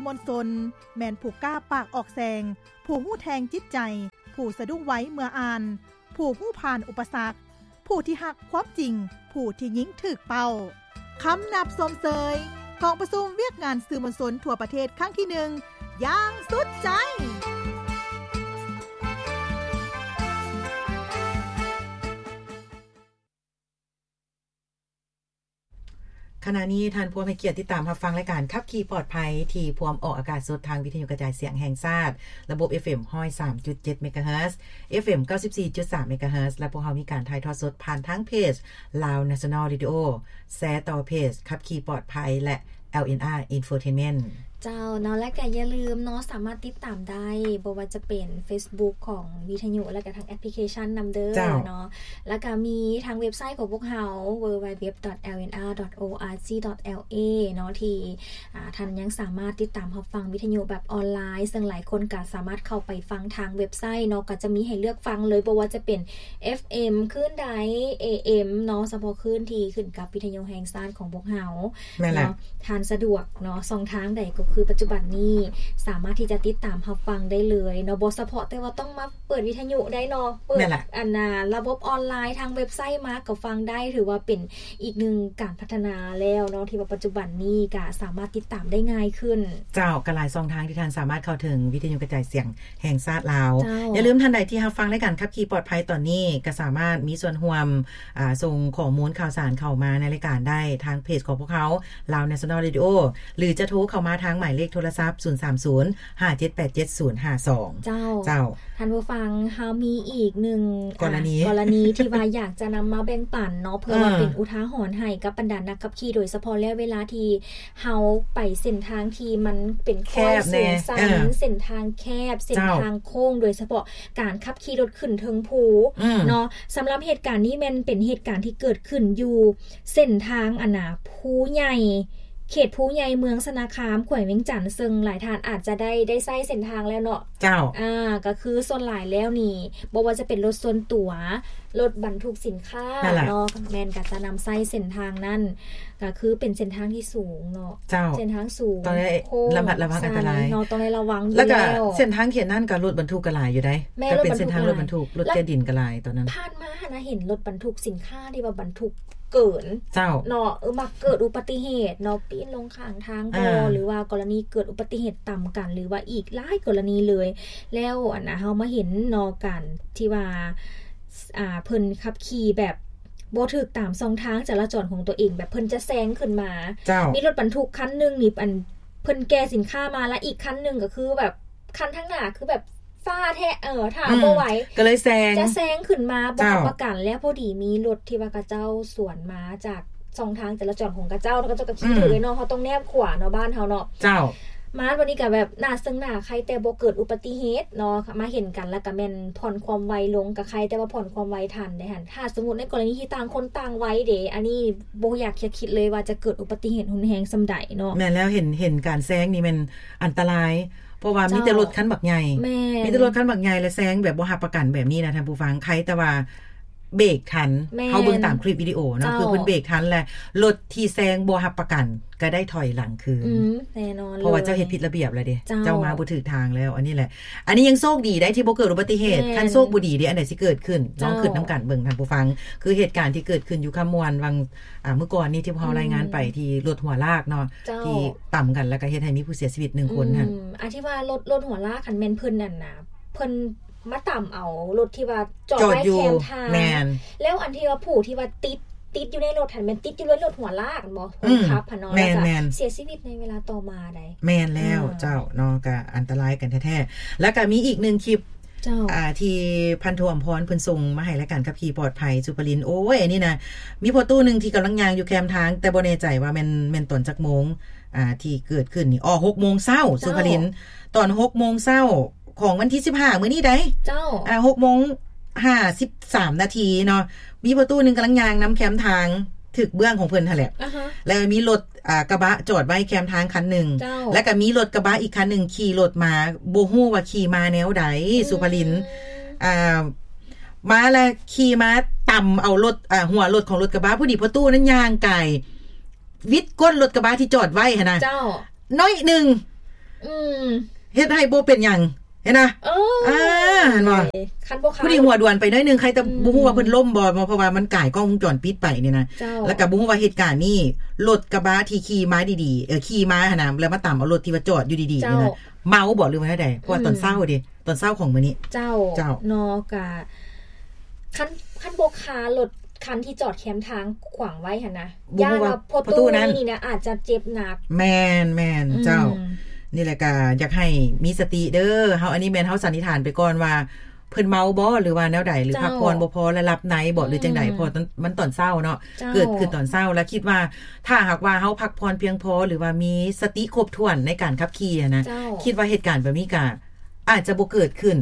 ມວນຊົນ ແມ່ນຜູ້ກ້າປາກອອກແສງ, ຜູ້ຮູ້ແທງຈິດໃຈ, ຜູ້ສະດຸ້ງໄວເມື່ອອ່ານ, ຜູ້ຮູ້ຜ່ານອຸປະສັກ, ຜູ້ທີ່ຮັກຄວາມຈິງ, ຜູ້ທີ່ຍິງຖືກເປົ້າ. ຄຳນັບຊົມເຊີຍ ກອງປະຊຸມວຽກງານສື່ມວນຊົນທົ່ວປະເທດຄັ້ງທີໜຶ່ງ ຢ່າງສຸດໃຈ. ຂະນະນີ້ທ່ານພວມໃຫ້ກຽດຕິດຕາມຮັບຟັງລາຍການຂັບຂີ່ປອດໄພ ທີ່ພວມອອກອາກາດສົດທາງວິທະຍຸກະຈາຍສຽງແຫ່ງຊາດ ລະບົບ ເອຟເອັມ ຮ້ອຍສາມຈຸດເຈັດ ເມກາເຮີດ, ເອຟເອັມ ເກົ້າສິບສີ່ຈຸດສາມ ເມກາເຮີດ ແລະ ພວກເຮົາມີການຖ່າຍທອດສົດຜ່ານທາງເພຈ Lao National Radio ແຊຕໍ່ເພຈຂັບຂີ່ປອດໄພ ແລະ ແອລເອັນອາ Infotainment ເຈົ້າເນາະ ແລະກະຢ່າລືມເນາະ ສາມາດຕິດຕາມໄດ້ ບໍ່ວ່າຈະເປັນເຟສບຸກຂອງວິທະຍຸ ແລະກະທາງແອັບພລິເຄຊັນນຳເດີເນາະ ແລະກະມີທາງເວັບໄຊຂອງພວກເຮົາ www.lnr.org.la ເນາະ ທີ່ ອາ ທ່ານຍັງສາມາດຕິດຕາມຮັບຟັງວິທະຍຸແບບອອນລາຍ ເຊິ່ງຫຼາຍຄົນກະສາມາດເຂົ້າໄປຟັງທາງເວັບໄຊເນາະ ກະຈະມີໃຫ້ເລືອກຟັງເລີຍ ບໍ່ວ່າຈະເປັນ ເອຟເອັມ ຄື້ນໃດ ເອເອັມ ເນາະ ສະເພາະຄື້ນທີ່ຂຶ້ນກັບວິທະຍຸແຫ່ງຊາດຂອງພວກເຮົາ ແມ່ນແຫຼະ ເນາະ ທ່ານສະດວກເນາະ ຊ່ອງທາງໃດ ກໍຄືປັດຈຸບັນນີ້ສາມາດທີ່ຈະຕິດຕາມຮັບຟັງໄດ້ເລີຍເນາະ ບໍ່ສະເພາະແຕ່ວ່າຕ້ອງມາເປີດວິທະຍຸໄດ້ເນາະ ເປີດ ແມ່ນແຫຼະ ອັນນາ ລະບົບອອນລາຍທາງເວັບໄຊມາກໍຟັງໄດ້ ຖືວ່າເປັນອີກໜຶ່ງການພັດທະນາແລ້ວເນາະ ທີ່ວ່າປັດຈຸບັນນີ້ກະສາມາດຕິດຕາມໄດ້ງ່າຍຂຶ້ນ. ເຈົ້າ ກະຫຼາຍຊ່ອງທາງທີ່ທ່ານສາມາດເຂົ້າເຖິງວິທະຍຸກະຈາຍສຽງ ແຫ່ງຊາດລາວ. ເຈົ້າ ຢ່າລືມທ່ານໃດທີ່ຮັບຟັງລາຍການຂັບຂີ່ປອດໄພຕອນນີ້ ກະສາມາດມີສ່ວນຮ່ວມ ອາ ສົ່ງຂໍ້ມູນຂ່າວສານເຂົ້າມາໃນລາຍການໄດ້ທາງເພຈຂອງພວກເຮົາ Lao National Radio ຫຼືຈະໂທເຂົ້າມາທາງໝາຍເລກໂທລະສັບ ສູນສາມສູນ ຫ້າເຈັດແປດເຈັດ ສູນຫ້າສອງ. ເຈົ້າ ເຈົ້າ ທ່ານຜູ້ຟັງ ເຮົາມີອີກໜຶ່ງ ກໍລະນີ ອາ ກໍລະນີທີ່ວ່າຢາກຈະນຳມາແບ່ງປັນເນາະ ເພື່ອວ່າ ເອີ ເປັນອຸທາຫອນໃຫ້ກັບບັນດານັກຂັບຂີ່ ໂດຍສະເພາະແລ້ວເວລາທີ່ ເຮົາໄປເສັ້ນທາງທີ່ມັນເປັນຄ້ອຍສູງຊັນ ແຄບແດ່ ເອີ ເສັ້ນທາງແຄບ ເສັ້ນທາງໂຄ້ງ ເຈົ້າ ໂດຍສະເພາະການຂັບຂີ່ລົດຂຶ້ນເທິງພູ ອືມ ເນາະ. ສຳລັບເຫດການນີ້ແມ່ນເປັນເຫດການທີ່ເກີດຂຶ້ນຢູ່ເສັ້ນທາງ ອັນນາ ພູໃຫຍ່ ເຂດພູໃຫຍ່ ເມືອງຊະນະຄາມ ແຂວງວຽງຈັນ ເຊິ່ງຫຼາຍທ່ານອາດຈະໄດ້ ໄດ້ໃຊ້ເສັ້ນທາງແລ້ວເນາະ. ເຈົ້າ ອາ ກໍຄືສ່ວນຫຼາຍແລ້ວນີ້ ບໍ່ວ່າຈະເປັນລົດສ່ວນຕົວ ລົດບັນທຸກສິນຄ້າເນາະ ແມ່ນກໍຈະນຳໃຊ້ເສັ້ນທາງນັ້ນ ກໍຄືເປັນເສັ້ນທາງທີ່ສູງເນາະ. ເຈົ້າ ເສັ້ນທາງສູງ ຕ້ອງໄດ້ລະມັດລະວັງອັນຕະລາຍເນາະ ຕ້ອງໄດ້ລະວັງຢູ່ແລ້ວ ແລ້ວກໍເສັ້ນທາງເຂດນັ້ນກໍລົດບັນທຸກກໍຫຼາຍຢູ່ໃດ໋ ແລ້ວກໍເປັນເສັ້ນທາງລົດບັນທຸ ລົດແກ່ດິນກໍຫຼາຍຕອນນັ້ນ. ຜ່ານມາຫັ້ນນະ ເຫັນລົດບັນທຸກສິນຄ້າທີ່ວ່າບັນທຸກ ເກີນ ເຈົ້າ ເນາະ ເອີ ມັກເກີດອຸບັດຕິເຫດເນາະ ປີ້ນລົງຂ້າງທາງບໍ ອ່າ ຫຼືວ່າກໍລະນີເກີດອຸບັດຕິເຫດຕຳກັນ ຫຼືວ່າອີກຫຼາຍກໍລະນີເລີຍ. ແລ້ວ ອັນນະ ເຮົາມາເຫັນເນາະ ການທີ່ວ່າ ອ່າ ເພິ່ນຂັບຂີ່ແບບບໍ່ຖືກຕາມຊ່ອງທາງຈະລາຈອນຂອງຕົວເອງ ແບບເພິ່ນຈະແຊງຂຶ້ນມາ ເຈົ້າ ມີລົດບັນທຸກຄັນໜຶ່ງນີ້ ອັນ ເພິ່ນແກ່ສິນຄ້າມາ ແລະ ອີກຄັນໜຶ່ງກໍຄືແບບ ຄັນທາງໜ້າຄືແບບຟ້າແທ້ ເອີ ຖ້າ ອືມ ບໍ່ໄຫວ ກໍເລີຍແຊງ ຈະແຊງຂຶ້ນມາ ບໍ່ຮັບປະກັນ ແລ້ວພໍດີມີລົດທີ່ວ່າເຂົາເຈົ້າສວນມາຈາກຊ່ອງທາງຈະລາຈອນຂອງເຂົາເຈົ້າ ເຂົາເຈົ້າກໍຂີ່ຖືກເນາະ ເຮົາຕ້ອງແນບຂວາເນາະ ບ້ານເຮົາເນາະ. ເຈົ້າ ມາບັດນີ້ກໍແບບໜ້າເຊິ່ງໜ້າໄຄ ແຕ່ບໍ່ເກີດອຸບັດຕິເຫດເນາະ ມາເຫັນກັນແລ້ວກໍແມ່ນຜ່ອນຄວາມໄວລົງ ກໍໄຄແຕ່ວ່າຜ່ອນຄວາມໄວທັນເດ້ຫັ້ນ. ຖ້າສົມມຸດໃນກໍລະນີທີ່ຕ່າງຄົນຕ່າງໄວເດ້ ອັນນີ້ບໍ່ຢາກຈະຄິດເລີຍວ່າຈະເກີດອຸບັດຕິເຫດຮຸນແຮງສ່ຳໃດເນາະ. ແມ່ນແລ້ວ ເຫັນ ເຫັນການແຊງນີ້ແມ່ນ ອັນຕະລາຍ ເພາະວ່າມີແຕ່ລົດຄັນບັກໃຫຍ່ ມີແຕ່ລົດຄັນບັກໃຫຍ່ ແລະ ແຊງແບບບໍ່ຮັບປະກັນແບບນີ້ນະທ່ານຜູ້ຟັງ ໄຄແຕ່ວ່າເບກທັນ ເຮົາເບິ່ງຕາມຄລິບວິດີໂອເນາະ ຄືເພິ່ນເບກທັນ ແລະ ລົດທີ່ແຊງບໍ່ຮັບປະກັນກໍໄດ້ຖອຍຫຼັງຄືນ ອືມ ແນ່ນອນ ເພາະວ່າເຈົ້າເຮັດຜິດລະບຽບແລ້ວເດ້ ເຈົ້າມາບໍ່ຖືກທາງແລ້ວ. ອັນນີ້ແຫຼະ ອັນນີ້ຍັງໂຊກດີໄດ໋ທີ່ບໍ່ເກີດອຸບັດຕິເຫດ ຄັນໂຊກບໍ່ດີເດ ອັນໃດຊິເກີດຂຶ້ນ ລອງຄິດນຳກັນເບິ່ງທ່ານຜູ້ຟັງ ຄືເຫດການທີ່ເກີດຂຶ້ນຢູ່ຄຳມ່ວນຫວ່າງ ອ່າ ມື້ກ່ອນນີ້ທີ່ພວກເຮົາລາຍງານໄປ ທີ່ລົດຫົວລາກເນາະ ທີ່ຕຳກັນ ແລ້ວກໍເຮັດໃຫ້ມີຜູ້ເສຍຊີວິດໜຶ່ງຄົນຫັ້ນ. ອືມ ອັນທີ່ວ່າລົດ ລົດຫົວລາກຫັ້ນແມ່ນເພິ່ນ ອັນນະ ເພິ່ນມາຕຳເອົາລົດທີ່ວ່າຈອດໄວ້ແຄມທາງ ແມ່ນ ແລ້ວອັນທີ່ວ່າຜູ້ທີ່ວ່າຕິດ ຕິດຢູ່ໃນລົດຫັ້ນແມ່ນຕິດຢູ່ໃນລົດຫົວລາກ ບໍ່ ຄົນຂັບຫັ້ນເນາະ ແລ້ວກໍເສຍຊີວິດໃນເວລາຕໍ່ມາໄດ໋. ແມ່ນແລ້ວ ເຈົ້າເນາະ ກໍອັນຕະລາຍກັນແທ້ໆ. ແລ້ວກໍມີອີກໜຶ່ງຄລິບ ເຈົ້າ ອ່າ ທີ່ພັນໂທອຳພອນເພິ່ນສົ່ງມາໃຫ້ລາຍການຂັບຂີ່ປອດໄພ ສຸພະລິນ ໂອ້ຍ ອັນນີ້ນະ ມີພໍ່ຕູ້ໜຶ່ງທີ່ກຳລັງຍ່າງຢູ່ແຄມທາງ ແຕ່ບໍ່ແນ່ໃຈວ່າແມ່ນ ແມ່ນຕອນຈັກໂມງ ອ່າ ທີ່ເກີດຂຶ້ນນີ້ ອໍ ຫົກໂມງເຊົ້າ ເຈົ້າ ສຸພະລິນ ຕອນຫົກໂມງເຊົ້າຂອງວັນທີສິບຫ້າ ມື້ນີ້ໃດ໋ ເຈົ້າ ອ່າ ຫົກໂມງຫ້າສິບສາມນາທີເນາະ ມີພໍ່ຕູ້ໜຶ່ງກຳລັງຍ່າງນຳແຄມທາງ ຖືກເບື້ອງຂອງເພິ່ນຫັ້ນແຫຼະ ອ່າຮະ ແລ້ວມີລົດ ອ່າ ກະບະຈອດໄວ້ແຄມທາງຄັນໜຶ່ງ ເຈົ້າ ແລ້ວກໍມີລົດກະບະອີກຄັນໜຶ່ງຂີ່ລົດມາ ບໍ່ຮູ້ວ່າຂີ່ມາແນວໃດ ອືມ ສຸພະລິນ ອ່າ ມາແລ້ວຂີ່ມາຕຳເອົາລົດ ອ່າ ຫົວລົດຂອງລົດກະບະ ພໍດີພໍ່ຕູ້ນັ້ນຍ່າງກາຍ ວິດກົ້ນລົດກະບະທີ່ຈອດໄວ້ຫັ້ນນະ ເຈົ້າ ໜ້ອຍໜຶ່ງ ອືມ ເຮັດໃຫ້ບໍ່ເປັນຫຍັງ ເຫັນນະ ເອີ ອ່າ ເຫັນບໍ່ ຄັນບໍ່ຄາ ຜູ້ທີ່ຫົວດວນໄປໜ້ອຍໜຶ່ງ ໃຄແຕ່ ອືມ ບໍ່ຮູ້ວ່າເພິ່ນລົ້ມບໍ່ ເພາະວ່າມັນກາຍກ້ອງວົງຈອນປິດໄປນີ້ນະ ເຈົ້າ ແລ້ວກໍບໍ່ຮູ້ວ່າເຫດການນີ້ ລົດກະບະທີ່ຂີ່ມາດີໆ ເອີ ຂີ່ມາຫັ້ນນະ ແລ້ວມາຕຳເອົາລົດທີ່ວ່າຈອດຢູ່ດີໆ ເຈົ້າ ນີ້ນະ ເມົາບໍ່ ຫຼືວ່າແນວໃດ ເພາະວ່າ ອືມ ຕອນເຊົ້າເດ້ ຕອນເຊົ້າຂອງມື້ນີ້ ເຈົ້າ ເຈົ້າ ເນາະ ກະ ຄັນ ຄັນບໍ່ຄາລົດຄັນທີ່ຈອດແຄມທາງຂວາງໄວ້ຫັ້ນນະ ຢ້ານວ່າພໍ່ຕູ້ນີ້ນະອາດຈະເຈັບໜັກ ແມ່ນໆ ອືມ ເຈົ້າ ນີ້ແຫຼະກະຢາກໃຫ້ມີສະຕິເດີ ເຮົາ ອັນນີ້ແມ່ນເຮົາສັນນິຖານໄປກ່ອນວ່າ ເພິ່ນເມົາບໍ່ ຫຼືວ່າແນວໃດ ຫຼື ເຈົ້າ ພັກຜ່ອນບໍ່ພໍ ແລະ ຫຼັບໃນບໍ່ ອືມ ຫຼືຈັ່ງໃດ ເພາະວ່າມັນຕອນເຊົ້າເນາະ ເຈົ້າ ເກີດຂຶ້ນຕອນເຊົ້າ ແລະ ຄິດວ່າ ຖ້າຫາກວ່າເຮົາພັກຜ່ອນພຽງພໍ ຫຼືວ່າມີສະຕິຄົບຖ້ວນໃນການຂັບຂີ່ຫັ້ນນະ ເຈົ້າ ຄິດວ່າເຫດການແບບນີ້ກະອາດຈະບໍ່ເກີດຂຶ້ນ.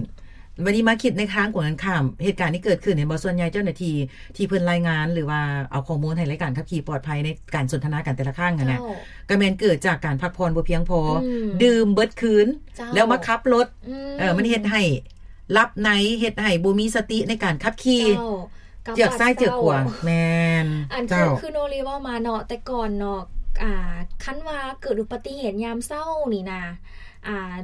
ບັດນີ້ມາຄິດໃນທາງກົງກັນຂ້າມ ເຫດການທີ່ເກີດຂຶ້ນ ເຫັນບໍ່ ສ່ວນໃຫຍ່ເຈົ້າໜ້າທີ່ທີ່ເພິ່ນລາຍງານ ຫຼືວ່າເອົາຂໍ້ມູນໃຫ້ລາຍການຂັບຂີ່ປອດໄພໃນການສົນທະນາກັນແຕ່ລະຄັ້ງຫັ້ນນະ ເຈົ້າ ກໍແມ່ນເກີດຈາກການພັກຜ່ອນບໍ່ພຽງພໍ ອືມ ດື່ມເບິດຄືນ ເຈົ້າ ແລ້ວມາຂັບລົດ ອືມ ເອີ ມັນເຮັດໃຫ້ ຫຼັບໃນ ເຮັດໃຫ້ບໍ່ມີສະຕິໃນການຂັບຂີ່ ເຈົ້າ ເຈືອກຊ້າຍເຈືອກຂວາ ແມ່ນ ອັນ ເຈົ້າ ຄື ຄືໂນລີເວົ້າມາເນາະ ແຕ່ກ່ອນເນາະ ອ່າ ຄັນວ່າເກີດອຸບັດຕິເຫດຍາມເຊົ້ານີ້ນະ ອ່າ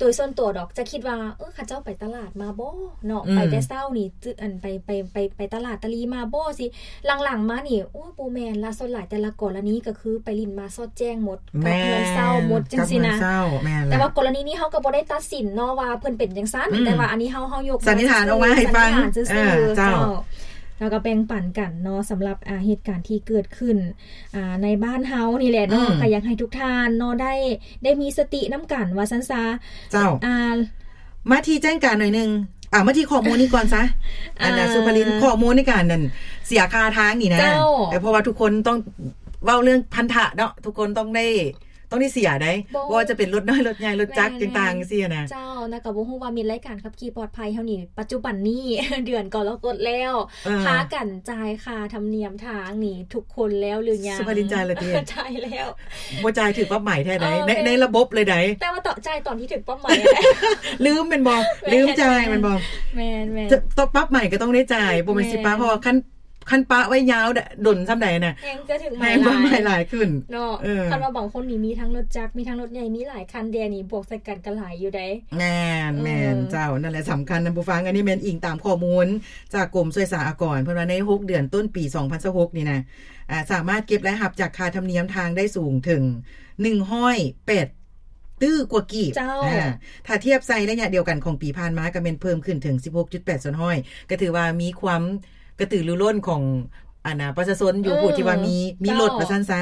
ໂດຍສ່ວນຕົວດອກຈະຄິດວ່າ ເອີ ເຂົາເຈົ້າໄປຕະຫຼາດມາບໍ່ເນາະ ອືມ ໄປແຕ່ເຊົ້ານີ້ ອັນ ໄປ ໄປ ໄປ ໄປຕະຫຼາດຕະລີມາບໍ່ ຊິ ຫຼັງໆມານີ້ ໂອ້ ບໍ່ແມ່ນລະ ສ່ວນຫຼາຍແຕ່ລະກໍລະນີກໍຄືໄປຫຼິ້ນມາສອດແຈ້ງໝົດ ກັບເຮືອນເຊົາໝົດ ຈັ່ງຊີ້ນະ ກັບເຮືອນເຊົາ ແມ່ນລະ ແຕ່ວ່າກໍລະນີນີ້ເຮົາກໍບໍ່ໄດ້ຕັດສິນເນາະວ່າເພິ່ນເປັນຈັ່ງຊັ້ນ ອືມ ແຕ່ວ່າອັນນີ້ເຮົາ ເຮົາຍົກ ສັນນິຖານອອກມາໃຫ້ຟັງ ເອີ ເຈົ້າ ເຈົ້າ ແລ້ວກໍແບ່ງປັນກັນເນາະ ສຳລັບ ອ່າ ເຫດການທີ່ເກີດຂຶ້ນ ອ່າ ໃນບ້ານເຮົານີ້ແຫຼະເນາະ ອືມ ກໍຢາກໃຫ້ທຸກທ່ານເນາະ ໄດ້ ໄດ້ມີສະຕິນຳກັນວ່າຊັ້ນຊະ ເຈົ້າ ອ່າ ມາທີ່ແຈ້ງການໜ້ອຍໜຶ່ງ ອ່າ ມາທີ່ຂໍ້ມູນນີ້ກ່ອນຊະ ອັນນະ ອ່າ ສຸພາລິນ ຂໍ້ມູນໃນການນັ້ນ ເສຍຄ່າທາງນີ້ນະ ເຈົ້າ ເພາະວ່າທຸກຄົນຕ້ອງເວົ້າເລື່ອງພັນທະເນາະ ທຸກຄົນຕ້ອງໄດ້ ຕ້ອງໄດ້ເສຍໃດ໋ ບໍ່ວ່າຈະເປັນລົດນ້ອຍ ລົດໃຫຍ່ ລົດຈັກ ແມ່ນໆ ຕ່າງໆ ຈັ່ງຊີ້ນະ ເຈົ້າ ແລ້ວກໍບໍ່ຮູ້ວ່າມິດລາຍການຂັບຂີ່ປອດໄພເຮົານີ້ ປັດຈຸບັນນີ້ ເດືອນກໍລະກົດແລ້ວ ເອີ ພາກັນຈ່າຍຄ່າທຳນຽມທາງນີ້ທຸກຄົນແລ້ວຫຼືຍັງ? ສຸພາລິນຈ່າຍແລ້ວຕິ? ຈ່າຍແລ້ວ ບໍ່ຈ່າຍຖືກປັບໃໝແທ້ໃດ໋ ເອີ ໃນ ໃນລະບົບເລີຍໃດ໋ ແຕ່ວ່າຕອນ ຈ່າຍຕອນທີ່ຖືກປັບໃໝ ລືມແມ່ນບໍ່? ແມ່ນ ລືມຈ່າຍແມ່ນບໍ່? ແມ່ນໆ ຕ້ອງປັບໃໝກໍຕ້ອງໄດ້ຈ່າຍ ບໍ່ແມ່ນຊິປະ ແມ່ນ ເພາະວ່າຄັນ ຄັນປະໄວ້ຍາວດົນສ່ຳໃດນະ ແຮງຈະຖືກໃໝຫຼາຍ ແຮງປະໃໝຫຼາຍຂຶ້ນເນາະ ເອີ ຄັນວ່າບາງຄົນນີ້ມີທັງລົດຈັກ ມີທັງລົດໃຫຍ່ ມີຫຼາຍຄັນແດ່ນີ້ ບວກໃສ່ກັນກໍຫຼາຍຢູ່ໃດ໋ ແມ່ນໆ ເອີ ເຈົ້າ ນັ້ນແຫຼະສຳຄັນນະຜູ້ຟັງ ອັນນີ້ແມ່ນອີງຕາມຂໍ້ມູນຈາກກົມສ່ວຍສາອາກອນ ເພິ່ນວ່າໃນຫົກເດືອນຕົ້ນປີສອງພັນຊາວຫົກນີ້ນະ ອ່າ ສາມາດເກັບລາຍຮັບຈາກຄ່າທຳນຽມທາງໄດ້ສູງເຖິງໜຶ່ງຮ້ອຍແປດຕື້ກວ່າກີບ ເຈົ້າ ອ່າ ຖ້າທຽບໃສ່ໄລຍະດຽວກັນຂອງປີຜ່ານມາ ກໍແມ່ນເພີ່ມຂຶ້ນເຖິງສິບຫົກຈຸດແປດສ່ວນຮ້ອຍ ກໍຖືວ່າມີຄວາມ ກະຕືລືລົ້ນຂອງ ອັນນະ ປະຊາຊົນຢູ່ ເອີ ຜູ້ທີ່ວ່າມີ ມີລົດ ເຈົ້າ ວ່າຊັ້ນຊະ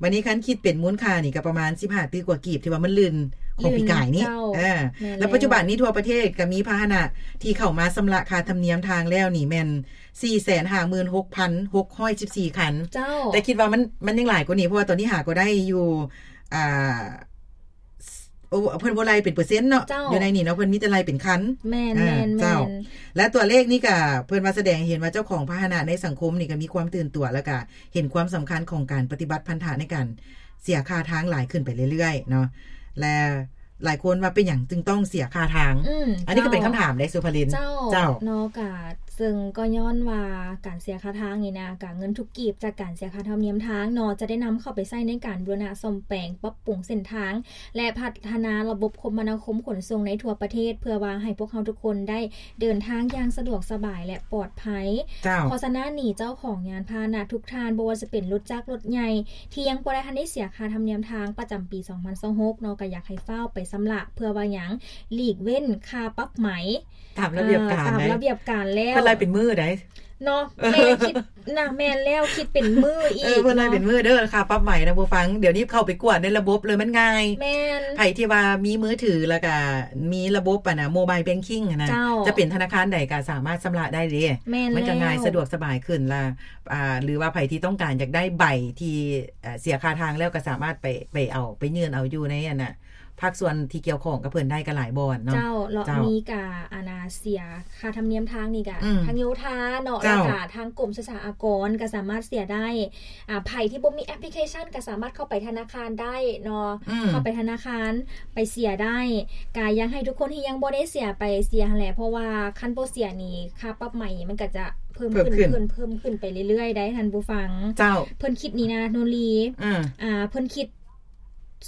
ບັດນີ້ຄັນຄິດເປັນມູນຄ່ານີ້ກໍປະມານສິບຫ້າຕື້ກວ່າກີບ ທີ່ວ່າມັນລື່ນຂອງປີກາຍນີ້ ເຈົ້າ ເອີ ແມ່ນແລ້ວ ແລ້ວປັດຈຸບັນນີ້ທົ່ວປະເທດກໍມີພາຫະນະທີ່ເຂົ້າມາຊຳລະຄ່າທຳນຽມທາງແລ້ວນີ້ແມ່ນສີ່ແສນຫ້າໝື່ນຫົກພັນຫົກຮ້ອຍສິບສີ່ຄັນ ເຈົ້າ ແຕ່ຄິດວ່າມັນ ມັນຍັງຫຼາຍກວ່ານີ້ ເພາະວ່າຕອນນີ້ຫາກໍໄດ້ຢູ່ ອ່າ ໂອ້ ເພິ່ນບໍ່ໄລ່ເປັນເປີເຊັນເນາະ ເຈົ້າ ຢູ່ໃນນີ້ເນາະ ເພິ່ນມີແຕ່ໄລ່ເປັນຄັນ ແມ່ນ ອ່າ ແມ່ນ ເຈົ້າ ແມ່ນ ແລະ ຕົວເລກນີ້ກະເພິ່ນວ່າສະແດງໃຫ້ເຫັນວ່າເຈົ້າຂອງພາຫະນະໃນສັງຄົມນີ້ກະມີຄວາມຕື່ນຕົວ ແລ້ວກະເຫັນຄວາມສຳຄັນຂອງການປະຕິບັດພັນທະໃນການເສຍຄ່າທາງຫຼາຍຂຶ້ນໄປເລື້ອຍໆເນາະ ແລະ ຫຼາຍຄົນວ່າເປັນຫຍັງຈຶ່ງຕ້ອງເສຍຄ່າທາງ? ອືມ ອັນນີ້ກໍເປັນຄຳຖາມເດ້ ສຸພາລິນ ເຈົ້າ ເຈົ້າ ເນາະ ກະ ເຊິ່ງກໍຍ້ອນວ່າການເສຍຄ່າທາງນີ້ນະ ກະເງິນທຸກກີບຈາກການເສຍຄ່າທຳນຽມທາງເນາະ ຈະໄດ້ນຳເຂົ້າໄປໃຊ້ໃນການບູລະນະສ້ອມແປງ ປັບປຸງເສັ້ນທາງ ແລະ ພັດທະນາລະບົບຄົມມະນາຄົມຂົນສົ່ງໃນທົ່ວປະເທດ ເພື່ອວ່າໃຫ້ພວກເຮົາທຸກຄົນໄດ້ເດີນທາງຢ່າງສະດວກສະບາຍ ແລະ ປອດໄພ. ເຈົ້າ. ເພາະສະນັ້ນນີ້ ເຈົ້າຂອງຍານພາຫະນະທຸກທ່ານ ບໍ່ວ່າຈະເປັນລົດຈັກ ລົດໃຫຍ່ ທີ່ຍັງບໍ່ໄດ້ທັນໄດ້ເສຍຄ່າທຳນຽມທາງປະຈຳປີສອງພັນຊາວຫົກເນາະ ກໍຢາກໃຫ້ຟ້າວໄປຊຳລະ ເພື່ອວ່າຫຍັງ? ຫຼີກເວັ້ນຄ່າປັບໃໝ. ຕາມລະບຽບການ ຕາມລະບຽບການແລ້ວ ເພິ່ນໄລ່ເປັນມື້ໃດ໋ ເນາະ ແມ່ນ ຄິດນະ ແມ່ນແລ້ວ ຄິດເປັນມື້ອີກ ເອີ ເພິ່ນໄລ່ເປັນມື້ເດີ ຄ່າປັບໃໝນະຜູ້ຟັງ ດຽວນີ້ເຂົ້າໄປກວດໃນລະບົບເລີຍ ມັນງ່າຍ ແມ່ນ ໃຜທີ່ວ່າມີມືຖື ແລ້ວກະມີລະບົບ ອັນນະ ໂມບາຍແບັງຄິງຫັ້ນນະ ເຈົ້າ ຈະເປັນທະນາຄານໃດກະສາມາດຊຳລະໄດ້ເດ້ ແມ່ນ ມັນກະງ່າຍ ສະດວກສະບາຍຂຶ້ນລະ ອ່າ ຫຼືວ່າໃຜທີ່ຕ້ອງການຢາກໄດ້ໃບທີ່ ເອີ ເສຍຄ່າທາງແລ້ວ ກະສາມາດໄປ ໄປເອົາ ໄປຍື່ນເອົາຢູ່ໃນ ອັນນະ ພາກສ່ວນທີ່ກ່ຽວຂ້ອງກັບເພິ່ນໄດ້ກໍຫຼາຍບ່ອນເນາະ ເຈົ້າ ເນາະ ເຈົ້າ ມີກະ ອັນນະ ເສຍຄ່າທຳນຽມທາງນີ້ກະ ອືມ ທາງໂຍທາເນາະ ເຈົ້າ ແລ້ວກະທາງກົມສຸດສາອາກອນກໍສາມາດເສຍໄດ້ ອ່າ ໃຜທີ່ບໍ່ມີແອັບພລິເຄຊັນກໍສາມາດເຂົ້າໄປທະນາຄານໄດ້ເນາະ ອືມ ເຂົ້າໄປທະນາຄານໄປເສຍໄດ້ ກະຢາກໃຫ້ທຸກຄົນທີ່ຍັງບໍ່ໄດ້ເສຍໄປເສຍຫັ້ນແຫຼະ ເພາະວ່າຄັນບໍ່ເສຍນີ້ ຄ່າປັບໃໝມັນກໍຈະເພີ່ມຂຶ້ນ ເພີ່ມຂຶ້ນ ເພີ່ມ ເພີ່ມຂຶ້ນໄປເລື້ອຍໆໄດ໋ ທ່ານຜູ້ຟັງ ເຈົ້າ ເພິ່ນຄິດນີ້ນະ ໂນລີ ອືມ ອ່າ ເພິ່ນຄິດ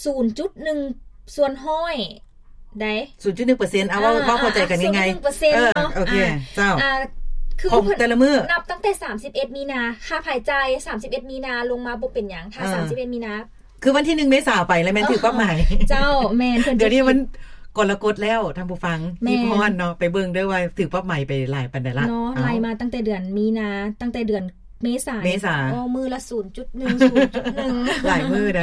ສູນຈຸດໜຶ່ງ ສ່ວນຮ້ອຍໃດ໋ ສູນຈຸດໜຶ່ງເປີເຊັນ ເອົາເວົ້າ ເວົ້າເຂົ້າໃຈກັນງ່າຍໆ ເອີ ເອີ ໂອເຄ ອ່າ ເຈົ້າ ອ່າ ຄືຂອງແຕ່ລະມື້ ນັບຕັ້ງແຕ່ສາມສິບເອັດມີນາ ຄ່າໃຊ້ຈ່າຍສາມສິບເອັດມີນາລົງມາບໍ່ເປັນຫຍັງ ຖ້າ ເອີ ສາມສິບເອັດມີນາ ຄືວັນທີໜຶ່ງເມສາໄປແລ້ວແມ່ນຖືກປັບໃໝ ເຈົ້າ ແມ່ນ ດຽວນີ້ມັນກໍລະກົດແລ້ວ ທ່ານຜູ້ຟັງ ແມ່ນ ຮີບຮ້ອນເນາະ ໄປເບິ່ງເດີວ່າຖືກປັບໃໝໄປຫຼາຍປານໃດລະ ເນາະ ເອົ້າ ໄລ່ມາຕັ້ງແຕ່ເດືອນມີນາ ຕັ້ງແຕ່ເດືອນເມສາ ເມສາ ໂອ້ ມື້ລະສູນຈຸດໜຶ່ງ ສູນຈຸດໜຶ່ງ ຫຼາຍມື້ໃດ໋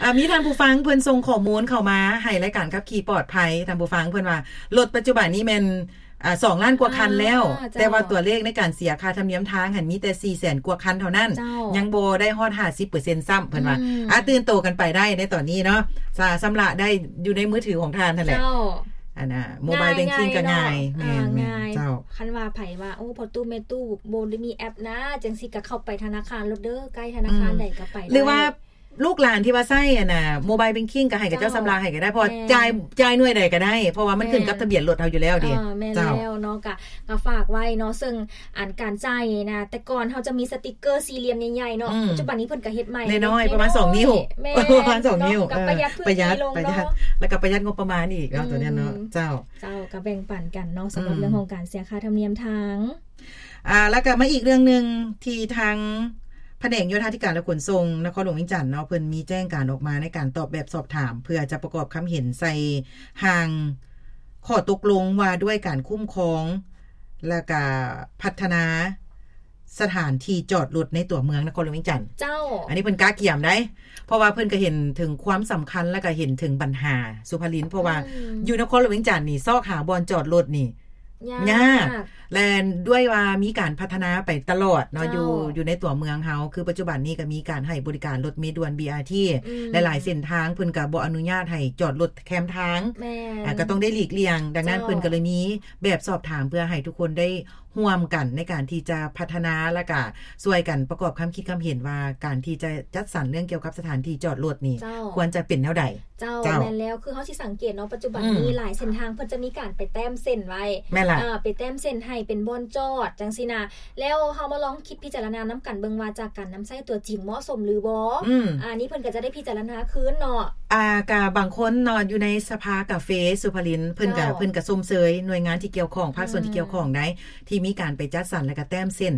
ອ່າ ມີທ່ານຜູ້ຟັງເພິ່ນສົ່ງຂໍ້ມູນເຂົ້າມາໃຫ້ລາຍການຂັບຂີ່ປອດໄພ ທ່ານຜູ້ຟັງ ເພິ່ນວ່າລົດປັດຈຸບັນນີ້ແມ່ນ ອ່າ ສອງລ້ານກວ່າຄັນແລ້ວ ອ່າ ເຈົ້າ ແຕ່ວ່າຕົວເລກໃນການເສຍຄ່າທຳນຽມທາງຫັ້ນມີແຕ່ສີ່ແສນກວ່າຄັນເທົ່ານັ້ນ ເຈົ້າ ຍັງບໍ່ໄດ້ຮອດຫ້າສິບເປີເຊັນຊ້ຳ ເພິ່ນວ່າ ອືມ ອ່າ ຕື່ນໂຕກັນໄປໄດ້ໃນຕອນນີ້ເນາະ ສາ ຊຳລະໄດ້ຢູ່ໃນມືຖືຂອງທ່ານຫັ້ນແຫຼະ ເຈົ້າ ອັນນ່າ Mobile Banking ກໍງ່າຍ ງ່າຍເນາະ ອ່າ ງ່າຍ ແມ່ນໆ ງ່າຍ ເຈົ້າ ຄັນວ່າໃຜວ່າ ໂອ້ ພໍ່ຕູ້ແມ່ຕູ້ບໍ່ໄດ້ມີແອັບນະ ຈັ່ງຊີ້ກໍເຂົ້າໄປທະນາຄານໂລດເດີ ໃກ້ທະນາຄານໃດກໍໄປໄດ້ ອືມ ຫຼືວ່າ ລູກຫຼານທີ່ວ່າໃຊ້ອັນນ່າ Mobile Banking ກໍໃຫ້ເຂົາເຈົ້າ ເຈົ້າ ຊຳລະໃຫ້ກໍໄດ້ ເພາະວ່າ ແມ່ນ ຈ່າຍ ຈ່າຍໜ່ວຍໃດກໍໄດ້ ເພາະວ່າມັນ ແມ່ນ ຂຶ້ນກັບທະບຽນລົດເຮົາຢູ່ແລ້ວເດ ເອີ ແມ່ນ ເຈົ້າ ແລ້ວເນາະ ກະ ກະຝາກໄວ້ເນາະ ເຊິ່ງອັນການຈ່າຍນີ້ນະ ແຕ່ກ່ອນເຮົາຈະມີສະຕິກເກີສີ່ຫຼ່ຽມໃຫຍ່ໆເນາະ ອືມ ປັດຈຸບັນນີ້ເພິ່ນກະເຮັດໃໝ່ ນ້ອຍໆ ປະມານສອງນິ້ວ ແມ່ນ ປະມານສອງນິ້ວ ເນາະ ເອີ ກະປະຢັດພື້ນທີ່ລົງເນາະ ປະຢັດ ແລ້ວກະປະຢັດງົບປະມານອີກເນາະ ອືມ ຕົວນັ້ນເນາະ ເຈົ້າ ເຈົ້າ ກະແບ່ງປັນກັນເນາະ ສຳລັບ ອືມ ເລື່ອງຂອງການເສຍຄ່າທຳນຽມທາງ ອ່າ ແລ້ວກໍມາອີກເລື່ອງໜຶ່ງ ທີ່ທາງພະແນກໂຍທາທິການ ແລະ ຂົນສົ່ງນະຄອນຫຼວງວຽງຈັນເນາະ ເພິ່ນມີແຈ້ງການອອກມາໃນການຕອບແບບສອບຖາມ ເພື່ອຈະປະກອບຄຳເຫັນໃສ່ຮ່າງຂໍ້ຕົກລົງວ່າດ້ວຍການຄຸ້ມຄອງ ແລ້ວກໍພັດທະນາສະຖານທີ່ຈອດລົດໃນຕົວເມືອງນະຄອນຫຼວງວຽງຈັນ. ເຈົ້າ. ອັນນີ້ເພິ່ນກະກຽມໄດ໋ ເພາະວ່າເພິ່ນກໍເຫັນເຖິງຄວາມສຳຄັນ ແລ້ວກໍເຫັນເຖິງບັນຫາ ສຸພະລິນ ເພາະວ່າ ອືມ ຢູ່ນະຄອນຫຼວງວຽງຈັນນີ້ ຊອກຫາບ່ອນຈອດລົດນີ້ ຍາກ ຍາກ ແລະ ດ້ວຍວ່າມີການພັດທະນາໄປຕະຫຼອດເນາະ ເຈົ້າ ຢູ່ ຢູ່ໃນຕົວເມືອງເຮົາ ຄືປັດຈຸບັນນີ້ກໍມີການໃຫ້ບໍລິການລົດເມດ່ວນ ບີອາທີ ອືມ ຫຼາຍໆເສັ້ນທາງເພິ່ນກໍບໍ່ອະນຸຍາດໃຫ້ຈອດລົດແຄມທາງ ແມ່ນ ອ່າ ກໍຕ້ອງໄດ້ຫຼີກລ່ຽງ ດັ່ງນັ້ນ ເຈົ້າ ເພິ່ນກໍເລີຍມີແບບສອບຖາມ ເພື່ອໃຫ້ທຸກຄົນໄດ້ຮ່ວມກັນໃນການທີ່ຈະພັດທະນາ ແລ້ວກໍຊ່ວຍກັນປະກອບຄຳຄິດຄຳເຫັນວ່າ ການທີ່ຈະຈັດສັນເລື່ອງກ່ຽວກັບສະຖານທີ່ຈອດລົດນີ້ ເຈົ້າ ຄວນຈະເປັນແນວໃດ? ເຈົ້າ ເຈົ້າ ແມ່ນແລ້ວ ຄືເຮົາຊິສັງເກດເນາະ ປັດຈຸບັນ ອືມ ມີຫຼາຍເສັ້ນທາງເພິ່ນຈະມີການໄປແຕ້ມເສັ້ນໄວ້ ແມ່ນລະ ເອີ ໄປແຕ້ມເສັ້ນໃຫ້ເປັນບ່ອນຈອດຈັ່ງຊີ້ນະ ແລ້ວເຮົາມາລອງຄິດພິຈາລະນານຳກັນເບິ່ງວ່າ ຈາກການນຳໃຊ້ຕົວຈິງເໝາະສົມຫຼືບໍ່? ອືມ ອັນນີ້ເພິ່ນກໍຈະໄດ້ພິຈາລະນາຄືນເນາະ ອ່າ ກະບາງຄົນເນາະ ຢູ່ໃນສະພາກາເຟ ສຸພະລິນ ເພິ່ນກະ ເຈົ້າ ເພິ່ນກະຊົມເຊີຍໜ່ວຍງານທີ່ກ່ຽວຂ້ອງ ພາກສ່ວນທີ່ກ່ຽວຂ້ອງໄດ້ ອືມ ທີ່ມີການໄປຈັດສັນ ແລ້ວກະແຕ້ມເສັ້ນ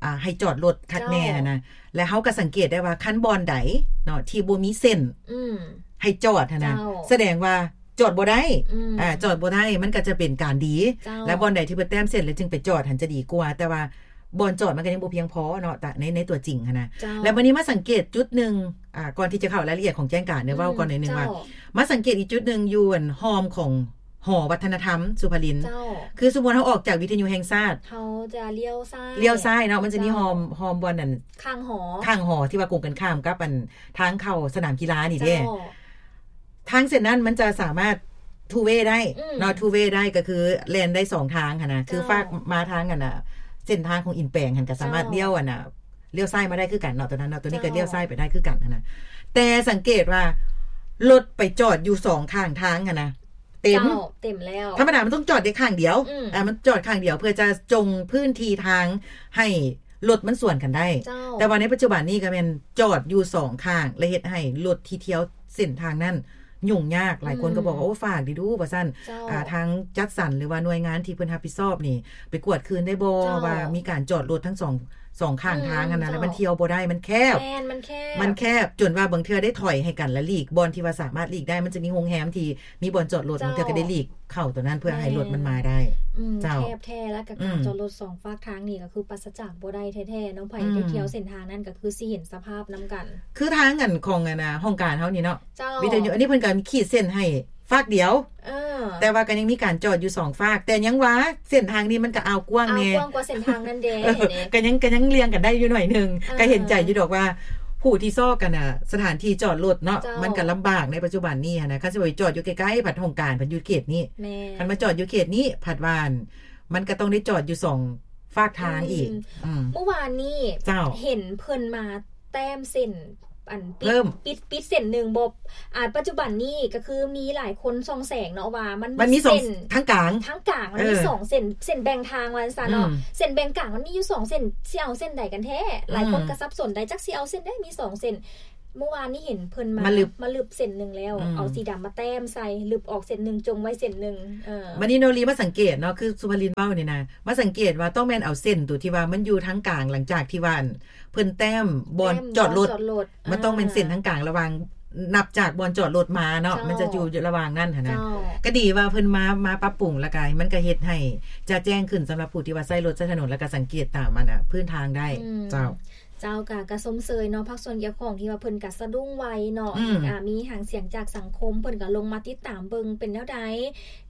ອ່າ ໃຫ້ຈອດລົດຄັກແນ່ຫັ້ນນະ ແລະ ເຮົາກໍສັງເກດໄດ້ວ່າ ຄັນບ່ອນໃດເນາະ ທີ່ບໍ່ມີເສັ້ນ ອືມ ໃຫ້ຈອດຫັ້ນນະ ເຈົ້າ ສະແດງວ່າຈອດບໍ່ໄດ້ ອືມ ອ່າ ຈອດບໍ່ໄດ້ ມັນກໍຈະເປັນການດີ ເຈົ້າ ແລະ ບ່ອນໃດທີ່ເພິ່ນແຕ້ມເສັ້ນ ແລ້ວຈຶ່ງໄປຈອດຫັ້ນຈະດີກວ່າ ແຕ່ວ່າບ່ອນຈອດມັນກໍຍັງບໍ່ພຽງພໍເນາະ ແຕ່ໃນ ໃນຕົວຈິງຫັ້ນນະ ເຈົ້າ ແລະ ບາດນີ້ມາສັງເກດຈຸດໜຶ່ງ ອ່າ ກ່ອນທີ່ຈະເຂົ້າລາຍລະອຽດຂອງແຈ້ງການ ໄດ້ເວົ້າ ອືມ ກ່ອນໜ້ອຍໜຶ່ງວ່າ ເຈົ້າ ມາສັງເກດອີກຈຸດໜຶ່ງ ຢູ່ອັນຮ່ອມຂອງ ຫໍວັດທະນະທຳ ສຸພະລິນ ເຈົ້າ ຄືສົມມຸດເຮົາອອກຈາກວິທະຍຸແຫ່ງຊາດ ເຮົາຈະລ້ຽວຊ້າຍ ລ້ຽວຊ້າຍເນາະ ມັນຈະມີ ເຈົ້າ ຮ່ອມ ຮ່ອມບ່ອນນັ້ນ ຂ້າງຫໍ ຂ້າງຫໍທີ່ວ່າກົງກັນຂ້າມກັບອັນທາງເຂົ້າສະໜາມກິລານີ້ເດ້ ເຈົ້າ ທາງເສັ້ນນັ້ນມັນຈະສາມາດທູເວໄດ້ ອືມ ເນາະ ທູເວໄດ້ ກໍຄືແລ່ນໄດ້ສອງທາງຫັ້ນນະ ເຈົ້າ ຄືຟາກມາທາງອັນນະ ເສັ້ນທາງຂອງອິນແປງຫັ້ນ ກໍສາມາດ ເຈົ້າ ລ້ຽວອັນນະ ລ້ຽວຊ້າຍມາໄດ້ຄືກັນເນາະ ຕົວນັ້ນເນາະ ຕົວນີ້ກໍ ເຈົ້າ ລ້ຽວຊ້າຍໄປໄດ້ຄືກັນຫັ້ນນະ ແຕ່ສັງເກດວ່າລົດໄປຈອດຢູ່ສອງຂ້າງທາງຫັ້ນນະ ເຕັມ ເຈົ້າ ເຕັມແລ້ວ ທຳມະດາມັນຕ້ອງຈອດໄດ້ຂ້າງດຽວ ອືມ ອ່າ ມັນຈອດຂ້າງດຽວ ເພື່ອຈະຈົ່ງພື້ນທີ່ທາງໃຫ້ລົດມັນສວນກັນໄດ້ ເຈົ້າ ແຕ່ວ່າໃນປັດຈຸບັນນີ້ກໍແມ່ນຈອດຢູ່ສອງຂ້າງ ແລະ ເຮັດໃຫ້ລົດທີ່ທ່ຽວເສັ້ນທາງນັ້ນຫຍຸ້ງຍາກ ຫຼາຍຄົນກໍບອກວ່າ ອືມ ໂອ້ ຝາກດີດູ ວ່າຊັ້ນ ເຈົ້າ ອ່າ ທາງຈັດສັນ ຫຼືວ່າໜ່ວຍງານທີ່ເພິ່ນຮັບຜິດຊອບນີ້ ໄປກວດຄືນໄດ້ບໍ່ ເຈົ້າ ວ່າມີການຈອດລົດທັງສອງ ສອງຂ້າງທາງຫັ້ນນະ ອືມ ແລ້ວມັນ ເຈົ້າ ທ່ຽວບໍ່ໄດ້ ມັນແຄບ ແມ່ນ ມັນແຄບ ມັນແຄບ ຈົນວ່າບາງເທື່ອໄດ້ຖອຍໃຫ້ກັນ ແລ້ວຫຼີກບ່ອນທີ່ວ່າສາມາດຫຼີກໄດ້ ມັນຈະມີໂຮງແຮມທີ່ມີບ່ອນຈອດລົດ ເຈົ້າ ບາງເທື່ອກໍໄດ້ຫຼີກເຂົ້າຕົວນັ້ນ ເພື່ອໃຫ້ ແມ່ນ ລົດມັນມາໄດ້ ອືມ ເຈົ້າ ແຄບແທ້ ແລ້ວກໍການ ອືມ ຈອດລົດສອງຟາກທາງນີ້ກໍຄືປາສະຈາກບໍ່ໄດ້ແທ້ໆເນາະ ໃຜ ອືມ ໄດ້ທ່ຽວເສັ້ນທາງນັ້ນກໍຄືຊິເຫັນສະພາບນຳກັນ ຄືທາງອັນຂອງອັນນະ ຫ້ອງການເຮົານີ້ເນາະ ເຈົ້າ ວິທະຍຸ ອັນນີ້ເພິ່ນກໍມີຂີດເສັ້ນໃຫ້ຟາກດຽວ ເອີ ແຕ່ວ່າກໍຍັງມີການຈອດຢູ່ສອງຟາກ ແຕ່ຍັງວ່າເສັ້ນທາງນີ້ມັນກໍອ່າວກວ້າງແດ່ ອ່າວກວ້າງກວ່າເສັ້ນທາງນັ້ນແດ່ ເອີ ກໍຍັງ ກໍຍັງລ່ຽງກັນໄດ້ຢູ່ໜ້ອຍໜຶ່ງ ເອີ ກໍເຫັນໃຈຢູ່ດອກວ່າຜູ້ທີ່ຊອກກັນນະ ສະຖານທີ່ຈອດລົດເນາະ ເຈົ້າ ມັນກໍລຳບາກໃນປັດຈຸບັນນີ້ຫັ້ນນະ ຄັນຊິໄປຈອດຢູ່ໃກ້ໆ ພັດຫ້ອງການ ພັດຢູ່ເຂດນີ້ ແມ່ນ ຄັນມາຈອດຢູ່ເຂດນີ້ ພັດວ່າ ມັນກໍຕ້ອງໄດ້ຈອດຢູ່ສອງຟາກທາງອີກ ອືມ ອືມ ເມື່ອວານນີ້ ເຈົ້າ ເຫັນເພິ່ນມາແຕ້ມເສັ້ນ ອັນ ປິດ ປິດ ປິດເສັ້ນໜຶ່ງ ບໍ່ ອ່າ ປັດຈຸບັນນີ້ກໍຄືມີຫຼາຍຄົນສ່ອງແສງເນາະວ່າ ມັນ ມັນມີສອງເສັ້ນ ທາງກາງ ທາງກາງມັນມີ ເອີ ສອງເສັ້ນ ເສັ້ນແບ່ງທາງວ່າຊັ້ນເນາະ ອືມ ເສັ້ນແບ່ງກາງມັນມີຢູ່ສອງເສັ້ນ ຊິເອົາເສັ້ນໃດກັນແທ້ ອືມ ຫຼາຍຄົນກໍສັບສົນໄດ໋ ຈັກຊິເອົາເສັ້ນໃດ ມີສອງເສັ້ນ ເມື່ອວານນີ້ເຫັນເພິ່ນມາ ມາລຶບ ມາລຶບເສັ້ນໜຶ່ງແລ້ວ ອືມ ເອົາສີດຳມາແຕ້ມໃສ່ ລຶບອອກເສັ້ນໜຶ່ງ ຈົ່ງໄວ້ເສັ້ນໜຶ່ງ ເອີ ບັດນີ້ໂນລີມາສັງເກດເນາະ ຄືສຸພາລິນເວົ້ານີ້ນະ ມາສັງເກດວ່າຕ້ອງແມ່ນເອົາເສັ້ນໂຕທີ່ວ່າມັນຢູ່ທາງກາງ ຫຼັງຈາກທີ່ວ່າ ອັນ ເພິ່ນແຕ້ມບ່ອນຈອດລົດ ແຕ້ມບ່ອນຈອດລົດ ມັນຕ້ອງແມ່ນເສັ້ນ ອ່າ ທາງກາງລະຫວ່າງ ນັບຈາກບ່ອນຈອດລົດມາເນາະ ເຈົ້າ ມັນຈະຢູ່ລະຫວ່າງນັ້ນຫັ້ນນະ ເຈົ້າ ກໍດີວ່າເພິ່ນມາ ມາປັບປຸງ ແລ້ວກໍມັນກໍເຮັດໃຫ້ຈະແຈ້ງຂຶ້ນສຳລັບຜູ້ທີ່ວ່າໃຊ້ລົດໃຊ້ຖະໜົນ ແລ້ວກໍສັງເກດຕາມອັນນະ ພື້ນທາງໄດ້ ອືມ ເຈົ້າ. ເຈົ້າ ກະ ກະຊົມເຊີຍເນາະ ພາກສ່ວນກ່ຽວຂ້ອງທີ່ວ່າເພິ່ນກະສະດຸ້ງໄວເນາະ ອືມ ອ່າ ມີຫາງສຽງຈາກສັງຄົມ ເພິ່ນກະລົງມາຕິດຕາມເບິ່ງເປັນແນວໃດ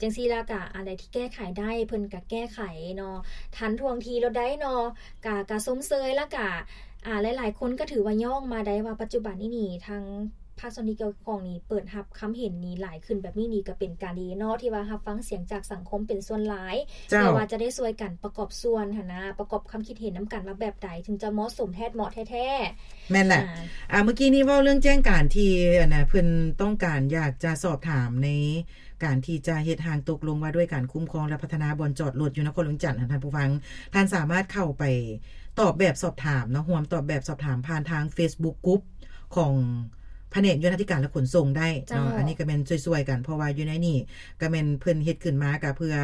ຈັ່ງຊີ້ລະກະ ອັນໃດທີ່ແກ້ໄຂໄດ້ ເພິ່ນກະແກ້ໄຂເນາະ ທັນທ່ວງທີໂລດໃດເນາະ ກະ ກະຊົມເຊີຍ ລະກະ ອ່າ ຫຼາຍໆຄົນກະຖືວ່າຍ້ອງມາໄດ້ວ່າປັດຈຸບັນນີ້ນີ້ ທາງພາກສ່ວນທີ່ກ່ຽວຂ້ອງນີ້ ເປີດຮັບຄຳເຫັນນີ້ຫຼາຍຂຶ້ນແບບນີ້ນີ້ ກະເປັນການດີເນາະ ທີ່ວ່າຮັບຟັງສຽງຈາກສັງຄົມເປັນສ່ວນຫຼາຍ ເຈົ້າ ເພື່ອວ່າຈະໄດ້ຊ່ວຍກັນປະກອບສ່ວນຫັ້ນນະ ປະກອບຄຳຄິດເຫັນນຳກັນວ່າແບບໃດ ເຖິງຈະເໝາະສົມແທ້ ເໝາະແທ້ໆ ແມ່ນແຫຼະ ອ່າ ອ່າ ເມື່ອກີ້ນີ້ເວົ້າເລື່ອງແຈ້ງການທີ່ ອັນນະ ເພິ່ນຕ້ອງການຢາກຈະສອບຖາມໃນການທີ່ຈະເຮັດຮ່າງຕົກລົງວ່າດ້ວຍການຄຸ້ມຄອງ ແລະ ພັດທະນາບ່ອນຈອດລົດຢູ່ນະຄອນຫຼວງວຽງຈັນ ທ່ານຜູ້ຟັງ ທ່ານສາມາດເຂົ້າໄປຕອບແບບສອບຖາມເນາະ ຮ່ວມຕອບແບບສອບຖາມຜ່ານທາງ Facebook Group ຂອງພະແນກໂຍທາທິການ ແລະ ຂົນສົ່ງໄດ້ເນາະ ເຈົ້າ ອັນນີ້ກໍແມ່ນຊ່ວຍໆກັນ ເພາະວ່າຢູ່ໃນນີ້ກໍແມ່ນເພິ່ນເຮັດຂຶ້ນມາກໍເພື່ອ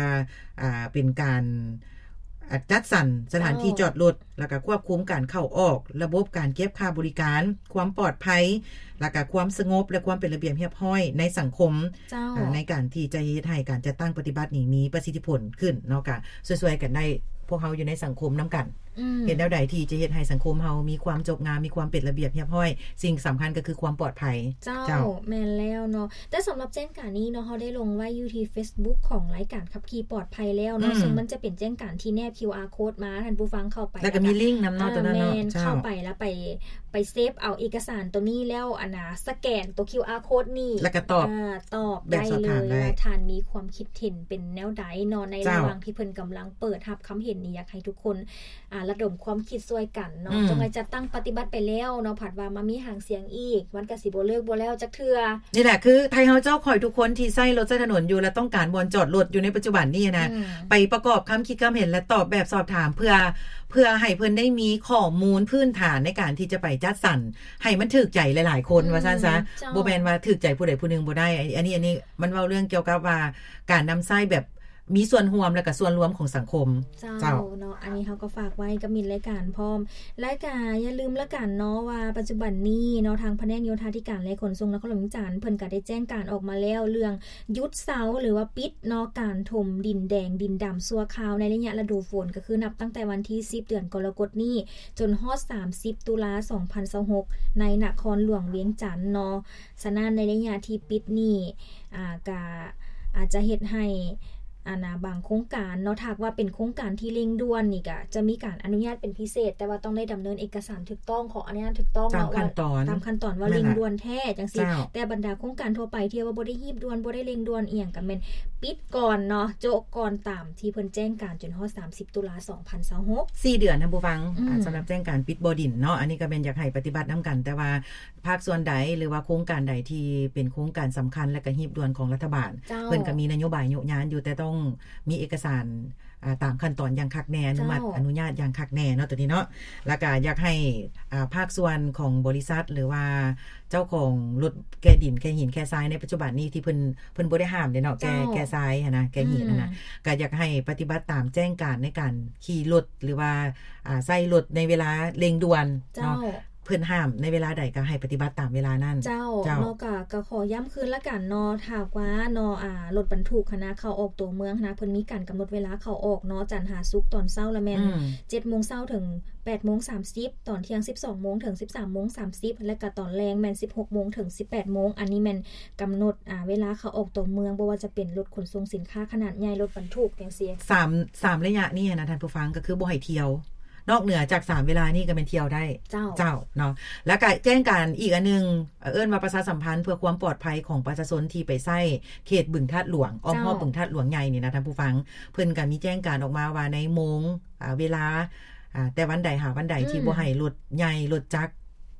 ອ່າ ເປັນການ ອາ ຈັດສັນສະຖານທີ່ ເຈົ້າ ຈອດລົດ ແລ້ວກໍຄວບຄຸມການເຂົ້າອອກ ລະບົບການເກັບຄ່າບໍລິການ ຄວາມປອດໄພ ແລ້ວກໍຄວາມສະຫງົບ ແລະ ຄວາມເປັນລະບຽບຮຽບຮ້ອຍໃນສັງຄົມ ເຈົ້າ ອາ ໃນການທີ່ຈະເຮັດໃຫ້ການຈັດຕັ້ງປະຕິບັດນີ້ມີປະສິດທິຜົນຂຶ້ນເນາະ ກໍຊ່ວຍໆກັນໄດ້ ພວກເຮົາຢູ່ໃນສັງຄົມນຳກັນ ອືມ ເຮັດແນວໃດທີ່ຈະເຮັດໃຫ້ສັງຄົມເຮົາມີຄວາມຈົບງາມ ມີຄວາມເປັນລະບຽບຮຽບຮ້ອຍ ສິ່ງສຳຄັນກໍຄືຄວາມປອດໄພ ເຈົ້າ ເຈົ້າ ແມ່ນແລ້ວເນາະ ແຕ່ສຳລັບແຈ້ງການນີ້ເນາະ ເຮົາໄດ້ລົງໄວ້ຢູ່ທີ່ Facebook ຂອງລາຍການຂັບຂີ່ປອດໄພແລ້ວເນາະ ອືມ ເຊິ່ງມັນຈະເປັນແຈ້ງການທີ່ແນບ ຄິວອາ ໂຄດມາ ທ່ານຜູ້ຟັງເຂົ້າໄປ ແລ້ວກໍມີລິ້ງນຳເນາະ ອ່າ ໂຕນັ້ນເນາະ ແມ່ນ ເຈົ້າ ເຂົ້າໄປແລ້ວໄປ ໄປເຊບເອົາເອກະສານໂຕນີ້ແລ້ວ ອັນນະ ສະແກນໂຕ ຄິວອາ ໂຄດນີ້ ແລ້ວກໍຕອບ ອ່າ ຕອບໄດ້ເລີຍ ແບບສອບຖາມໄດ້ ວ່າທ່ານມີຄວາມຄິດເຫັນເປັນແນວໃດເນາະ ໃນ ເຈົ້າ ລະຫວ່າງທີ່ເພິ່ນກຳລັງເປີດຮັບຄຳເຫັນນີ້ ຢາກໃຫ້ທຸກຄົນ ອ່າ ລະດົມຄວາມຄິດຊ່ວຍກັນເນາະ ອືມ ຈັ່ງໃດຈັດຕັ້ງປະຕິບັດໄປແລ້ວເນາະ ພັດວ່າມາມີຫາງສຽງອີກ ມັນກະຊິບໍ່ເລີກບໍ່ແລ້ວຈັກເທື່ອ. ນີ້ແຫຼະ ຄືໄທເຮົາເຈົ້າຂ້ອຍທຸກຄົນທີ່ໃຊ້ລົດໃຊ້ຖະໜົນຢູ່ ແລະ ຕ້ອງການບ່ອນຈອດລົດຢູ່ໃນປັດຈຸບັນນີ້ນະ ອືມ ໄປປະກອບຄຳຄິດຄຳເຫັນ ແລະ ຕອບແບບສອບຖາມ ເພື່ອ ເພື່ອໃຫ້ເພິ່ນໄດ້ມີຂໍ້ມູນພື້ນຖານໃນການທີ່ຈະໄປຈັດສັນໃຫ້ມັນຖືກໃຈຫຼາຍໆຄົນ ອືມ ວ່າຊັ້ນຊະ ເຈົ້າ ບໍ່ແມ່ນວ່າຖືກໃຈຜູ້ໃດຜູ້ໜຶ່ງບໍ່ໄດ້ ອັນ ອັນນີ້ ອັນນີ້ມັນເວົ້າເລື່ອງກ່ຽວກັບວ່າການນຳໃຊ້ແບບ ມີສ່ວນຮ່ວມ ແລ້ວກໍສ່ວນລວມຂອງສັງຄົມ. ເຈົ້າ ເຈົ້າ ເນາະ ອັນນີ້ເຮົາກໍຝາກໄວ້ກັບມິດລາຍການພ້ອມ ແລະ ກໍຢ່າລືມລະກັນເນາະ ວ່າປັດຈຸບັນນີ້ເນາະ ທາງພະແນກໂຍທາທິການ ແລະ ຂົນສົ່ງນະຄອນຫຼວງວຽງຈັນ ເພິ່ນກໍໄດ້ແຈ້ງການອອກມາແລ້ວ ເລື່ອງຢຸດເຊົາ ຫຼືວ່າປິດເນາະ ການຖົມດິນແດງດິນດຳຊົ່ວຄາວໃນໄລຍະລະດູຝົນ ກໍຄືນັບຕັ້ງແຕ່ວັນທີສິບ ເດືອນກໍລະກົດນີ້ ຈົນຮອດສາມສິບ ຕຸລາ ສອງພັນຊາວຫົກ ໃນນະຄອນຫຼວງວຽງຈັນເນາະ. ສະນັ້ນໃນໄລຍະທີ່ປິດນີ້ ອ່າ ກະອາດຈະເຮັດໃຫ້ ອັນນະ ບາງໂຄງການເນາະ ຖ້າຫາກວ່າເປັນໂຄງການທີ່ເລັ່ງດ່ວນນີ້ ກະຈະມີການອະນຸຍາດເປັນພິເສດ ແຕ່ວ່າຕ້ອງໄດ້ດຳເນີນເອກະສານຖືກຕ້ອງ ຂໍອະນຸຍາດຖືກຕ້ອງ ຕາມຂັ້ນຕອນ ຕາມຂັ້ນຕອນວ່າເລັ່ງດ່ວນແທ້ ຈັ່ງຊີ້. ແຕ່ບັນດາໂຄງການທົ່ວໄປທີ່ວ່າບໍ່ໄດ້ຮີບດ່ວນ ບໍ່ໄດ້ເລັ່ງດ່ວນອີ່ຫຍັງ ກະແມ່ນປິດກ່ອນເນາະ ໂຈະກ່ອນຕາມທີ່ເພິ່ນແຈ້ງການ ຈົນຮອດສາມສິບ ຕຸລາ ສອງພັນຊາວຫົກ ສີ່ເດືອນ ທ່ານຜູ້ຟັງ. ອືມ ສຳລັບແຈ້ງການປິດບໍ່ດິນເນາະ ອັນນີ້ກະແມ່ນຢາກໃຫ້ປະຕິບັດນຳກັນ ແຕ່ວ່າ ພາກສ່ວນໃດ ຫຼືວ່າໂຄງການໃດທີ່ເປັນໂຄງການສຳຄັນ ແລະ ກະຮີບດ່ວນຂອງລັດຖະບານ ເຈົ້າ ເພິ່ນກະມີນະໂຍບາຍໂຍະຍານຢູ່ ແຕ່ຕ້ອງມີເອກະສານ ອ່າ ຕາມຂັ້ນຕອນຢ່າງຄັກແນ່ ອະນຸມັດ ເຈົ້າ ອະນຸຍາດຢ່າງຄັກແນ່ເນາະ ໂຕນີ້ເນາະ. ແລ້ວກະຢາກໃຫ້ ອ່າ ພາກສ່ວນຂອງບໍລິສັດ ຫຼືວ່າເຈົ້າຂອງລົດແກ່ດິນ ແກ່ຫີນ ແກ່ຊາຍ ໃນປັດຈຸບັນນີ້ທີ່ເພິ່ນ ເພິ່ນບໍ່ໄດ້ຫ້າມເດ້ເນາະ ແກ່ ເຈົ້າ ແກ່ຊາຍຫັ້ນນະ ແກ່ຫີນຫັ້ນນະ ອືມ ກະຢາກໃຫ້ປະຕິບັດຕາມແຈ້ງການໃນການຂີ່ລົດ ຫຼືວ່າ ອ່າ ໃຊ້ລົດໃນເວລາເລັ່ງດ່ວນເນາະ ເຈົ້າ ເພິ່ນຫ້າມໃນເວລາໃດກໍໃຫ້ປະຕິບັດຕາມເວລານັ້ນ. ເຈົ້າ ເຈົ້າ ເນາະ ກະ ກະຂໍຢ້ຳຄືນລະກັນເນາະ ຖ້າຫາກວ່າເນາະ ອ່າ ລົດບັນທຸກຫັ້ນນະ ເຂົ້າອອກຕົວເມືອງຫັ້ນນະ ເພິ່ນມີການກຳນົດເວລາເຂົ້າອອກເນາະ ຈັນຫາສຸກຕອນເຊົ້າລະແມ່ນ ອືມ ເຈັດໂມງເຊົ້າເຖິງແປດໂມງສາມສິບ ຕອນທ່ຽງສິບສອງໂມງເຖິງສິບສາມໂມງສາມສິບ ແລະ ກະຕອນແລງແມ່ນສິບຫົກໂມງເຖິງສິບແປດໂມງ ອັນນີ້ແມ່ນກຳນົດ ອ່າ ເວລາເຂົ້າອອກຕົວເມືອງ ບໍ່ວ່າຈະເປັນລົດຂົນສົ່ງສິນຄ້າຂະໜາດໃຫຍ່ ລົດບັນທຸກຈັ່ງຊີ້. ສາມ ສາມໄລຍະນີ້ນະ ທ່ານຜູ້ຟັງ ກໍຄືບໍ່ໃຫ້ທ່ຽວ ນອກເໜືອຈາກສາມເວລານີ້ກໍແມ່ນທ່ຽວໄດ້. ເຈົ້າ ເຈົ້າ ເນາະ ແລ້ວກະແຈ້ງການອີກອັນໜຶ່ງ ເອີ້ນວ່າປະຊາສຳພັນເພື່ອຄວາມປອດໄພຂອງປະຊາຊົນທີ່ໄປໃຊ້ເຂດບຶງທາດຫຼວງ ອ້ອມຮອບ ເຈົ້າ ບຶງທາດຫຼວງໃຫຍ່ນີ້ນະ ທ່ານຜູ້ຟັງ ເພິ່ນກະມີແຈ້ງການອອກມາວ່າໃນໂມງ ອາ ເວລາ ອາ ແຕ່ວັນໃດຫາວັນໃດ ອືມ ທີ່ບໍ່ໃຫ້ລົດໃຫຍ່ ລົດຈັກ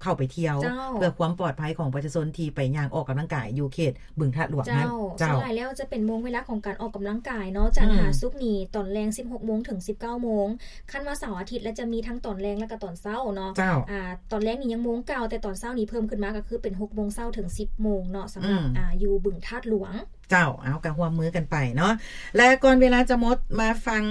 ເຂົ້າໄປທ່ຽວ ເຈົ້າ ເພື່ອຄວາມປອດໄພຂອງປະຊາຊົນທີ່ໄປຍ່າງອອກກຳລັງກາຍຢູ່ເຂດບຶງທາດຫຼວງນັ້ນ ເຈົ້າ ເຈົ້າ ສ່ວນຫຼາຍແລ້ວຈະເປັນໂມງເວລາຂອງການອອກກຳລັງກາຍເນາະ ຈັນ ອືມ ຫາສຸກນີ້ ຕອນແລງ ສິບຫົກໂມງ ເຖິງ ສິບເກົ້າໂມງ ຄັນວ່າເສົາອາທິດແລ້ວຈະມີທັງຕອນແລງ ແລະກະຕອນເຊົ້າເນາະ ເຈົ້າ ອາ ຕອນແລງນີ້ຍັງໂມງເກົ່າ ແຕ່ຕອນເຊົ້ານີ້ເພີ່ມຂຶ້ນມາ ກໍຄືເປັນ ຫົກໂມງເຊົ້າ ເຖິງ ສິບໂມງເນາະ ສຳລັບ ອືມ ອາ ຢູ່ບຶງທາດຫຼວງ ເຈົ້າ ເອົາ ກະຮ່ວມມືກັນໄປເນາະ ແລະກ່ອນເວລາຈະໝົດ ມາຟັງ